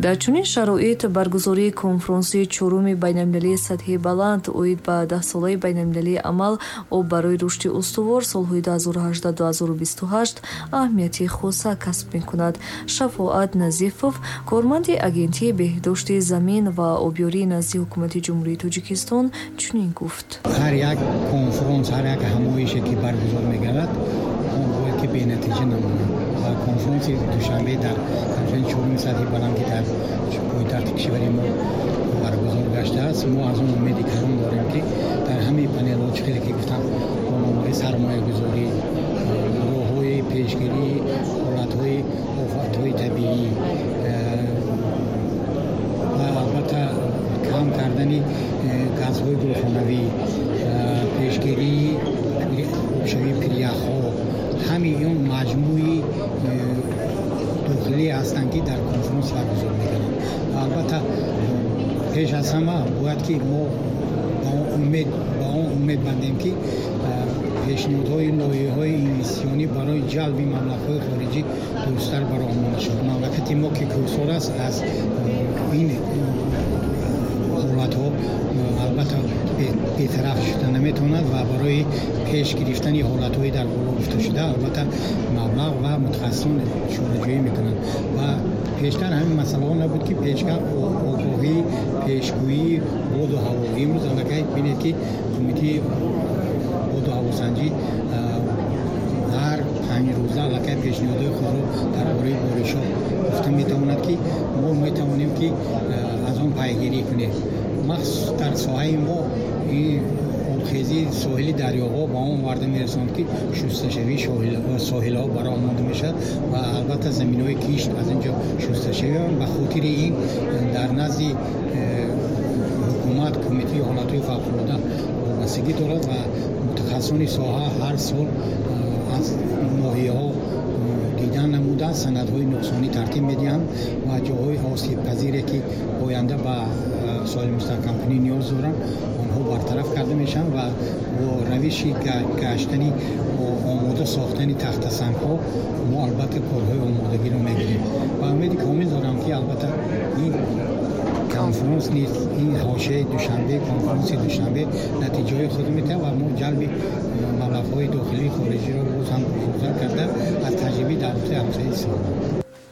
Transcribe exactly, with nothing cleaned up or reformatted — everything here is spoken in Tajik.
Дар чунин шароит баргузории конфронси чоруми байналмилалии сатҳи баланд оид ба даҳсолаи байналмилалии амал об барои рушди устувор солҳои ду ҳазору ҳаждаҳ ду ҳазору бисту ҳашт аҳамияти хоса касб мекунад. Шафоат Назифов, корманди Агентии беҳдошти замин ва обёрии назди Ҳукумати Ҷумҳурии Тоҷикистон, чунин гуфт. Ҳар як конфронс, ҳар як ҳамоише ки баргузор мегардад, он бояд ки бенатиҷа намонад. Ва конфронси Душанбе дар конфронси чоруми сатҳи баланд, ки дар пойтахти кишвари мо баргузор гаштааст, мо аз он умеди калон дорем, ки дар ҳамаи панелҳо, чӣ хеле ки гуфтам, бо номҳои сармоягузорӣ, роҳҳои пешгирии ҳолатҳои офатҳои табиӣ ва албатта кам кардани газҳои гулхонавӣ, пешгирии обшавии пиряхҳо, ҳамаи он маҷмӯи дохилӣ ҳастанд, ки дар конфронс баргузор мекунанд. Ва албатта пеш аз ҳама бояд ки мо ба он умед, ба он умед бандем, ки пешниҳодҳои лоиҳаҳои инвеститсионӣ барои ҷалби маблағҳои хориҷӣ дурусттар бароҳ монда шавад. Мамлакати мо, ки кӯҳсор аст, аз ин ҳолатҳо албатта бетараф шуда наметавонад ва барои пеш гирифтани ҳолатҳои дар боло гуфташуда албатта маблағ ва мутахассисон чораҷӯӣ мекунанд. Ва пештар ҳамин масъалаҳо набуд, ки пешгар огоҳӣ, пешгӯии боду ҳаво. Имрӯз аллакай бинед, ки Кумитаи боду ҳавосанҷӣ ҳар панҷ рӯза аллакай пешниҳодҳои худро дар бораи боришҳо гуфта метавонад, ки мо метавонем, ки аз он пайгирӣ кунем. Махсус дар соҳаи мо ин обхезии соҳили дарёҳо ба он оварда мерасонад, ки шусташавии соҳилҳо бароҳ монда мешавад ва албатта заминҳои кишт аз ин ҷо шусташавӣ. Ба хотири ин дар назди ҳукумат Кумитаи ҳолатҳои фавқулода вобастагӣ дорад ва мутахассисони соҳа ҳар сол аз ноҳияҳо дидан намуда, санадҳои нуқсонӣ тартиб медиҳанд ва ҷоҳои осебпазире, ки оянда ба соҳили мустаҳкамкунӣ ниёз доранд, онҳо бартараф карда мешаванд ва бо равиши гаштани омода сохтани тахтасангҳо мо албатта корҳои омодагиро мегирем. Ва умеди комил дорам, ки албатта ин конфронс низ, ин ҳошияи Душанбе, конфронси Душанбе натиҷаҳои худро медиҳад ва мо ҷалби маблағҳои дохилии хориҷиро боз ҳам бузургтар карда, аз таҷрибаи давлати ҳамсоя истифода.